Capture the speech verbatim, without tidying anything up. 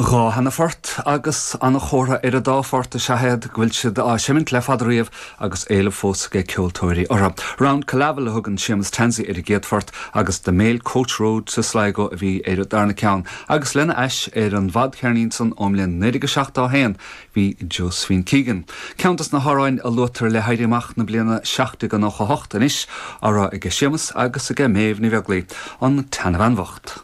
Dhá sheana-phort agus an-chomhartha ar an dá phort is ea iad go bhfuil siad á seimint le fada riamh agus éileamh fós ag ceoltóirí orthu. Round Killavil a thugann Séamus Tansey ar an gcéad phort agus The Mail Coach Road to Sligo a bhí ar an darna ceann, agus lena ais ar an bhfadcheirnín san ón mbliain naoi déag seachtó haon bhí Josephine Keegan. Ceann des na hamhráin a luaitear le hÉirí Amach na bliana seacht déag nócha hocht anois á rá ag Séamus agus ag Méabh Ní Bheaglaoich an tseanbhean bhocht.